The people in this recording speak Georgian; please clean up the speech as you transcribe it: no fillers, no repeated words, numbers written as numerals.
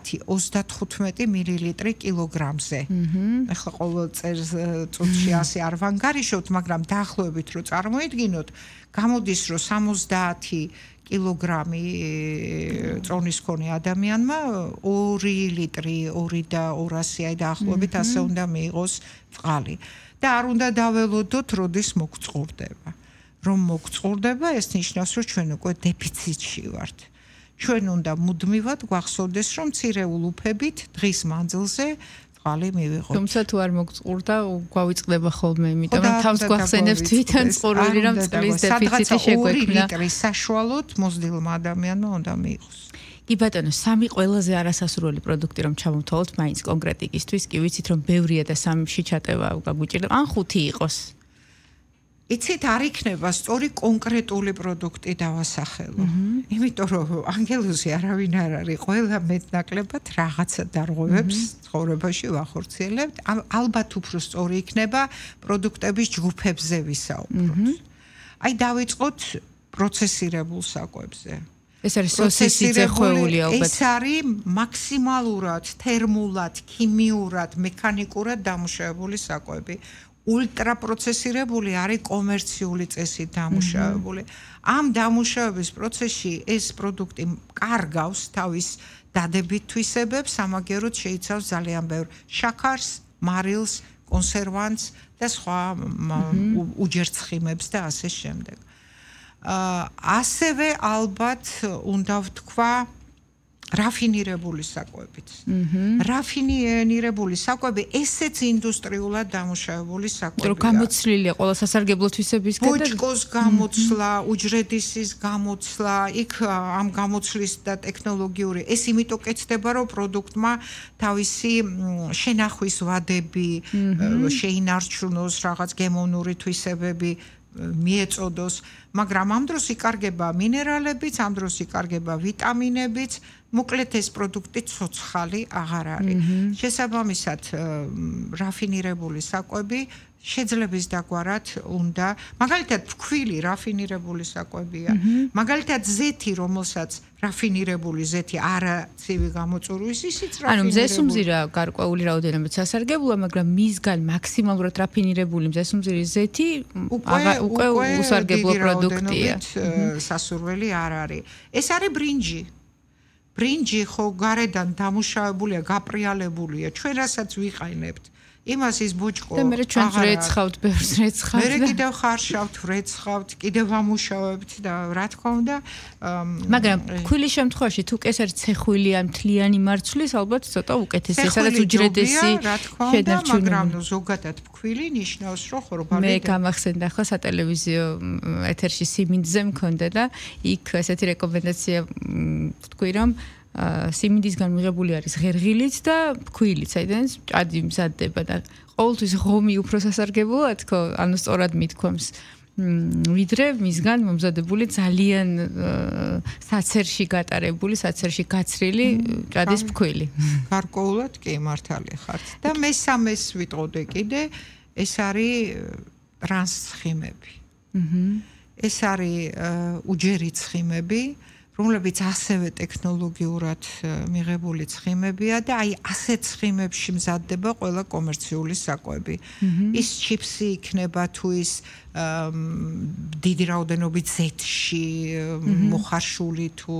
10-35 მილილიტრი კილოგრამზე. ეხლა ყოველ წუთში ასე არ ვანგარიშობთ, მაგრამ დაახლოებით რო წარმოიდგინოთ, გამოდის რომ 70 კილოგრამი წონის მქონე ადამიანმა 2 ლიტრი, 2 და 200 აი დაახლოებით ასე უნდა მიიღოს წყალი. და არ უნდა დაველოდოთ, როდის მოგწყურდება. რომ მოგწყურდება, ეს ნიშნავს, რომ ჩვენ უკვე დეფიციტში ვართ. ჩვენ უნდა მუდმივად გვახსოვდეს, რომ მცირეულ უფებით დღის მანძილზე წყალი მივიღოთ. თუმცა თუ არ მოგწყურდა, გვავიწყდება ხოლმე, იმიტომ რომ თავს გვახსენებს თვითონ წყურვილი, რომ წყლის დეფიციტი შეგვექმნა. 2 ლიტრი საშუალოდ მოზრდილმა ადამიანმა უნდა მიიღოს. კი ბატონო, 3 ყველაზე არასასურველი პროდუქტი რომ ჩამოვთვალოთ, მაინც კონკრეტიკისთვის, კი ვიცით რომ ბევრია და 3-ში ჩატევა გაგვიჭირდება, ან 5 იყოს. იცით, არ იქნება სწორი კონკრეტული პროდუქტი დავასახელო. იმიტომ რომ ანგელოზი არავინ არ არის, ყველა მეტნაკლებად რაღაცა დარღვევებს ცხოვრებაში ვახორციელებთ. ალბათ უფრო სწორი იქნება პროდუქტების ჯგუფებზე ვისაუბროთ. აი დავიწყოთ პროცესირებულ საკვებზე. ეს არის სოსისი ხვეული ალბათ. ეს არის მაქსიმალურად თერმულად, ქიმიურად, მექანიკურად დამუშავებული საკვები. ულტრაპროცესირებული არის კომერციული წესით დამუშავებული. ამ დამუშავების პროცესში ეს პროდუქტი კარგავს თავის დადებით თვისებებს, სამაგეროდ შეიცავს ძალიან ბევრ შაქარს, მარილს, კონსერვანტს და სხვა უჯერცხიმებს და ასე შემდეგ. ასევე ალბათ უნდა ვთქვა რაფინირებული საკვებით. რაფინირებული საკვები ესეც ინდუსტრიულად დამუშავებული საკვებია. რომ გამოცლილია ყველა სასარგებლო თვისებისგან და ბოჭკოს გამოცლა, უჯრედისის გამოცლა, იქ ამ გამოცლის და ტექნოლოგიური ეს იმიტომ კეთდება, რომ პროდუქტმა თავისი შენახვის ვადები შეინარჩუნოს, რაღაც გემოვნური თვისებები მიეწოდოს, მაგრამ ამ დროს იკარგება მინერალებიც, ამ დროს იკარგება ვიტამინებიც, მოკლედ ეს პროდუქტი ცოცხალი აღარ არის. შესაბამისად, რაფინირებული საკვები შეძლების დაგვარად უნდა, მაგალითად ფქვილი რაფინირებული საკვებია, მაგალითად ზეთი, რომელსაც რაფინირებული ზეთი არაცივი გამოწურვის, ისიც რაფინირებული. ანუ მზესუმზირა გარკვეული რაოდენობით სასარგებლოა, მაგრამ მისგან მაქსიმალურად რაფინირებული მზესუმზირის ზეთი უკვე უსარგებლო პროდუქტია. სასურველი არ არის. ეს არის ბრინჯი. ბრინჯი ხო გარედან დამუშავებულია, გაპრიალებულია, ჩვენ რასაც ვიყაინებთ. იმას ის ბოჭკო და მე ჩვენ ვრეცხავთ, ბევრს ვრეცხავთ. მე კიდევ ხარშავთ, ვრეცხავთ, კიდევ ვამუშავებთ და რა თქმა უნდა, მაგრამ ფქვილის შემთხვევაში თუ კი ეს არის ცეხვილი ან მთლიანი მარცვლის, ალბათ ცოტა უკეთესია, სადაც უჯრედესი შედარჩუნებული, მაგრამ ზოგადად ფქვილი ნიშნავს, რომ ხორბალი. მე გამახსენდა ახლა სატელევიზიო ეთერში სიმინდზე მქონდა და იქ ესეთი რეკომენდაცია ვთქვი, რომ სიმინდისგან მიღებული არის ღერღილიც და ფქვილიც, საიდანაც ჭადი მზადდება და ყოველთვის ღომი უფრო სასარგებლოა თქო, ანუ სწორად მithქვამს. ვიდრე მისგან მომზადებული ძალიან საცერში გატარებული, საცერში გაცრილი ჭადის ფქვილი. გარკვეულად კი მართალი ხართ. და მესამეს ვიტყოდე კიდე, ეს არის ტრანსცხიმები. ეს არის უჯერი ცხიმები, რომლებიც ასევე ტექნოლოგიურად მიღებული ცხიმებია და აი ასეთ ცხიმებში მზადდება ყველა კომერციული საკვები. ის ჩიფსი იქნება თუ ის დიდი რაოდენობით ზეთში მოხარშული თუ